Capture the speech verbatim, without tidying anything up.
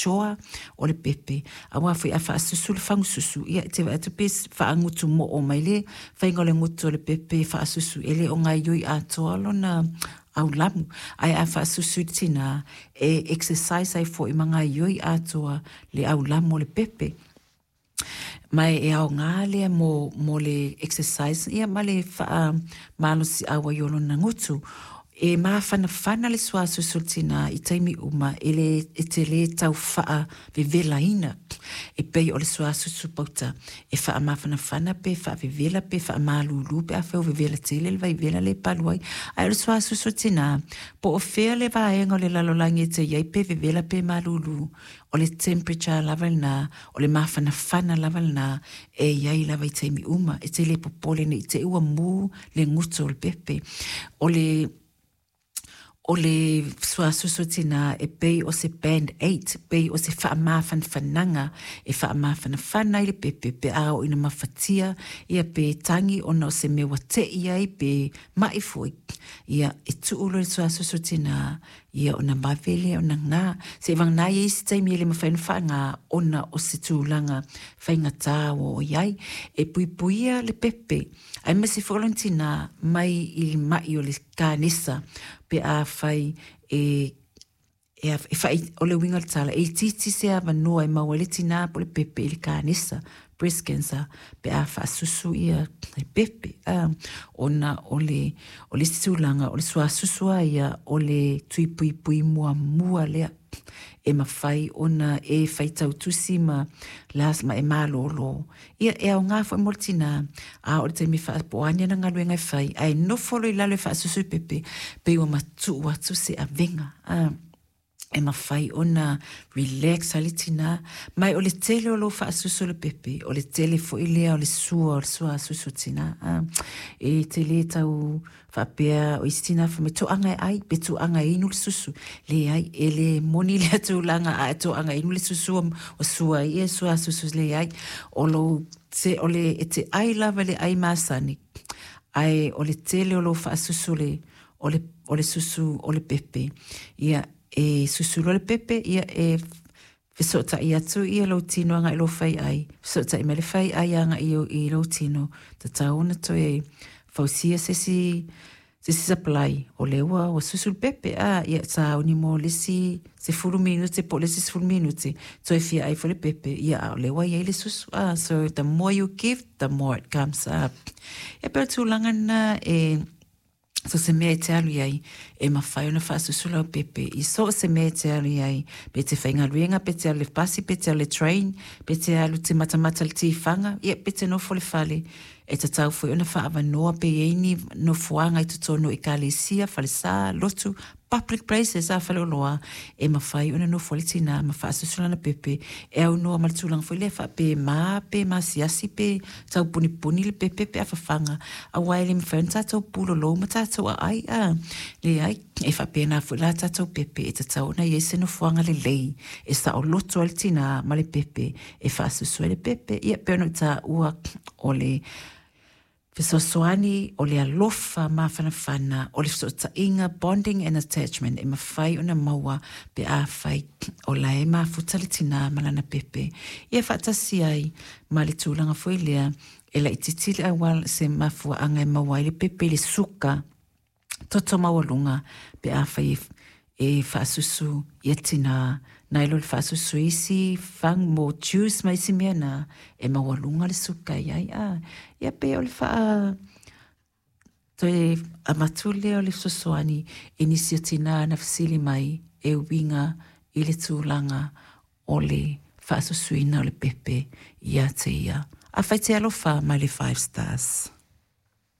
jaw o le pepe, auā foi a faasusu le fagususu, ia e te vaai atu pe faagutu moo mai le faiga o le gutu o le pepe faasusu, e le o gaoioi atoa lona aulamu, ae a faasusu i le tinā e exercise ai foi ma gaoioi atoa le aulamu o le pepe. Ma e aoga lea mo, mo le exercise ia ma le faamalosiau ai o lona gutu. E mafanafana le suasusu o le tinā i taimi uma e le e te lē tau faavevelaina e pei o le suasusu pauta e faamafanafana pe faavevela pe faamalūlū pe afai o vevela tele le vaivela le palu ai, ae o le suasusu o tinā po o fea le vaega o le lalolagi e te iai pe vevela pe malūlū, o le temperature lava lenā, o le mafanafana lava lenā e iai lava i taimi uma, e te le popole nei te ua mū le gutu o le pepe. O le o le suasusu tinā e pei o se band aid, pei o se faamafanafanaga e faamafanafana ai le pepe pe a oo ina mafatia ia pe tagi ona o se mea ua te'i ai pe ma'i foi, ia e tuu loa le suasusu tinā ia ona vave lea ona gā seivagana ai isi taimi e le mafai ona faagā ona o se tulaga faigatā ua oo i ai. E puipuia le pepe aemaise foi o lona tinā mai i le ma'i o le kanesa pe afai e e, e fai, o le uiga o le tala, e itiiti se avanoa e maua ai le tinā po o le pepe i le kanesa, breast cancer, pe a faasusu ia le pepe, a, ona o le, o le isi tulaga, o le suasusu lava ia o le tui puipui muamua lea e mafai ona e faitau tusi ma las ma e malōlō. Ia e aoga foi mo le tinā, a oo i le taimi e po o a ni ana galuega e fai, ae nofo loa i lalo e faasusu i pepe, pei ua matuu atu se avega, a, e mafai ona relax ai le tinā. Ma o le tele o lou faasusu o le pepe, o le tele foi lea o le sua o le suasusu o tinā, a, e te lē tau faapea o isi tinā fai mai toaga e ai pe toaga e inu le susu, leai e lē moni lea tulaga a e toaga e inu le susu o sua ai ia suasusu, leai o lou te o le e te ai lava le ai masani, ae o le tele o lou faasusu le o le o le susu o le pepe, ia e susu loa le pepe, ia e fesootai atu ia lou tino agai lou faiai, fesootai mai le faiai agai i lou tino, tatau ona toe fausia se isi se isi supply o lea ua ua susu le pepe, a ia sauni mo le isi sefulu minute po o le isi sefulu minute toe fia ai foi le pepe, ia a o lea ua iai le susu, a so the more you give, the more it comes up. E pei o le tulaga lena e so se mea e te alu i ai e mafai ona faasusu lau pepe i so o se mea e te alu i ai, pe te faigaluega, pe te alu i le pasi, pe te alu i le train, pe te alu te matamata i le tifaga, ia pe te nofo i le fale, e tatau foi ona faaavanoa pe i ai ni nofoaga i totonu o ekalesia, falesā, lotu, public places a faleoloa e mafai ona nofo ai le tinā ma faasusu lana pepe e aunoa ma le tulaga foi lea faape mā pe masiasi pe taupunipuni le pepe pe a fafaga, auā e le mafai ona tatou pulolou ma tatou aai, a leai e faapena foi la tatou pepe e tatau ona i ai se nofoaga lelei e saoloto ai le tinā ma le pepe e faasusu ai le pepe. Ia pei ona ou taua o le fesoasoani, o le alofa mafanafana, o le fesootaiga, bonding and attachment e mafai ona maua pe afai o la e mafuta le tinā ma lana pepe. Ia faatasi ai ma le tulaga foi lea e laitiiti le auala se mafuaaga e maua ai le pepe i le suka toto maualuga pe afai e faasusu ia tinā nai lo le faasusu i isi fang mo juice ma isi mea na e maualuga le suka i ai, a ia pei o le faa toe avatu lea o le fesoasoani i nisi o tinā na fesili mai e uiga i le tulaga o le faasusuina o le pepe ia te ia. Afai te alofa mai le five stars.